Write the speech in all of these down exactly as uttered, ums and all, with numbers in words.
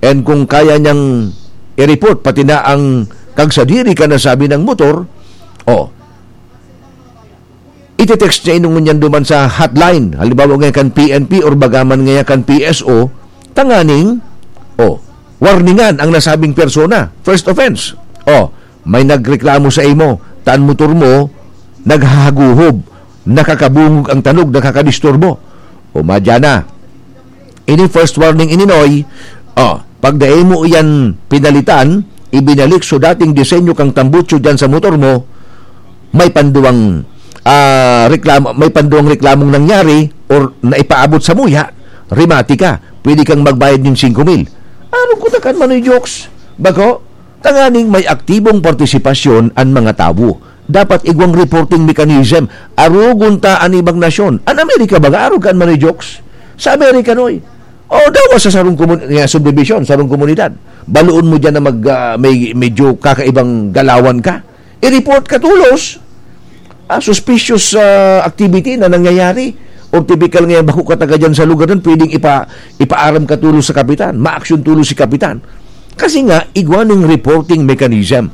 And kung kaya niyang i-report pati na ang kagsadiri kan nasabing motor, oh, ite-text niya ini ngunyan duman sa hotline. Halimbawa ngayon kan P N P or bagaman ngayon kan P S O, tanganing, oh, warningan ang nasabing persona. First offense. Oh, may nagreklamo sa imo, ta an motor mo, naghahaguhob, nakakabungog ang tanog, nakakadisturbo. O, madya na. Ini first warning ini, Noy. Oh, pag dai mo iyan pinalitan, ibinalik so dating disenyo kang tambutso diyan sa motor mo, may panduwang, ah, reklamo, may panduwang reklamong nangyari or naipaabot sa muya, remati ka. Pwede kang magbayad nin singko mil. Ano ko takan, Manoy Jokes? Bako? Tanganing may aktibong partisipasyon an mga tawo. Dapat igwang reporting mechanism. Arogon ta an ibang nasyon. An Amerika baga, arog kan Manoy Jokes? Sa Amerika, Noy. O, dawa sa sarong komun-, nga subdivision, sarong komunidad. Baloon mo diyan na mag, ah, may, medyo kakaibang galawan ka. I-report ka tolos. Ah, suspicious, ah, activity na nangyayari. O typical nga, bako ka taga diyan sa lugar nun, pwedeng ipa-, ipaaram ka tolos sa kapitan. Ma-action tolos si kapitan. Kasi nga, igwa ning reporting mechanism.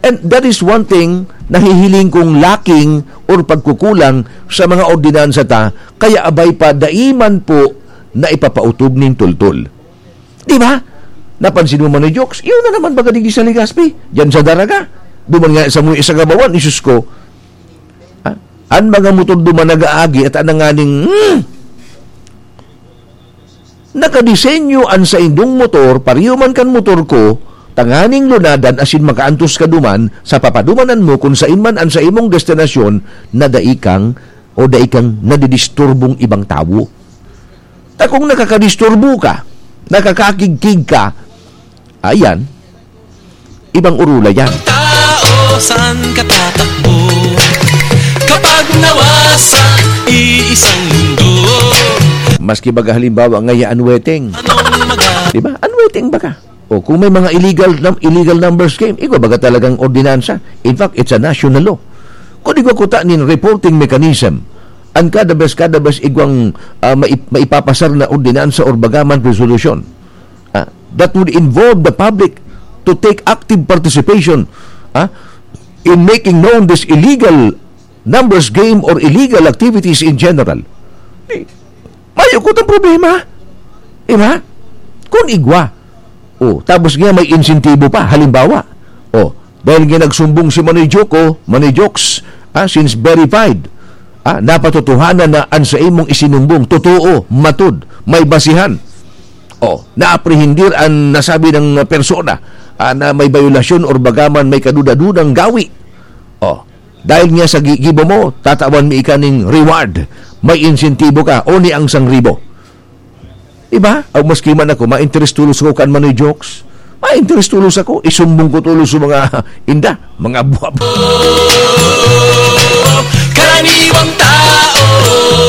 And that is one thing na hihiling kong lacking or pagkukulang sa mga ordinansa ta, kaya abay pa dai man po na ipapautob nin tultol. Di ba? Napansin mo man ni Jokes, yun na naman baga digdi sa Legazpi, diyan sa Daraga. Duman nga sa mga isa gabawan, isus ko. Ha? An mga motor duman nag-aagi at ananganing, hmm, Nakadisenyo an saindong motor, pareho man kan motor ko, tanganing lunadan asin makaantos ka duman sa papadumanan mo kun saen man an saimong destinasyon na dai kang o dai kang nadidisturbong ibang tawo. Ta kung nakakadisturbo ka, nakakakigkig ka, ayan, ibang orula yan. Tao, saan ka tatakbo? Kapag nawasa, iisang mundo. Maski baga halimbawa, ngaya unweteng. Anong maga- Di ba? Unweteng baga. O kung may mga illegal num-, illegal numbers game, igwa baga talagang ordinansa. In fact, it's a national law. Kung igwa kuta nin reporting mechanism, ang kada bes, kada bes igwang, ah, maip-, maipapasar na ordinansa or bagaman resolution. Ah, that would involve the public to take active participation, ah, in making known this illegal numbers game or illegal activities in general. Di, mayo ko tang problema. Di ba? Kung igwa. Oh, tapos nga may insentibo pa. Halimbawa, oh, dahil nga nagsumbong si Manoy Joko, Manoy Jokes, ah, since verified, ah, napatotohanan na an sa imong isinumbong, totoo, matud, may basihan. Oh, naaprehendir an nasabi ng persona, ah, na may bayolasyon or bagaman may kaduda-dudang gawi. Oh, dahil nga sa gi-, gibo mo, tatawan mi ika ning reward. May insentibo ka, o ni ang sang ribo. Diba? Aw, maski man ako, ma-interest tulos ako kan Manoy Jokes. Ma-interest tulos ako, isumbong ko tulos sa mga inda, mga buwab. Karaniwang tao.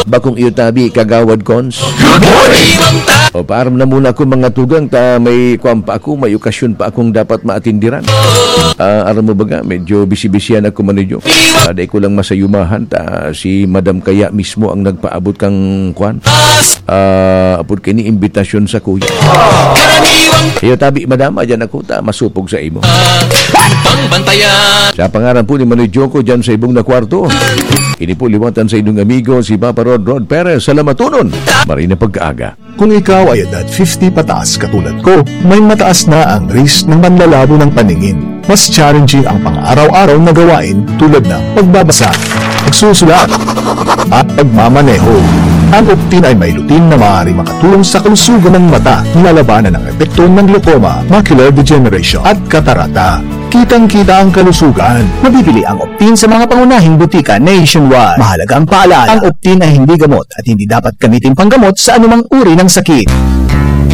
Bakong iyo tabi, Kagawad Cons. Karaniwang tao. O, paaram na muna ako, mga tugang, ta may kwan pa ako, may okasyon pa akong dapat maatindiran. Ah, aram mo baga, medyo bisi-bisihan ako, Manoy Jokes. Ah, dai ko lang masayumahan, ta si Madam kaya mismo ang nagpaabot kang kwan. Ah, apod kini imbitasyon sa kuya. Iyo tabi, madam, adyan ako ta masupog sa imo. Sa pangaran po ni Manoy Joko dyan sa ibong na kwarto. Ini po liwatan sa inyong amigo, si Papa Rod, Rod Perez. Salamaton. Maray na pagkaaga. Kung ikaw ay edad fifty pataas katulad ko, may mataas na ang risk ng panlalabo ng paningin. Mas challenging ang pang-araw-araw na gawain tulad ng pagbabasa, pagsusulat, at pagmamaneho. Ang Optin ay may lutein na maaari makatulong sa kalusugan ng mata, nilalabanan ang epekto ng glaucoma, macular degeneration, at katarata. Kitang-kita ang kalusugan. Mabibili ang Optin sa mga pangunahing butika nationwide. Mahalagang paalala, ang Optin ay hindi gamot at hindi dapat gamitin panggamot sa anumang uri ng sakit.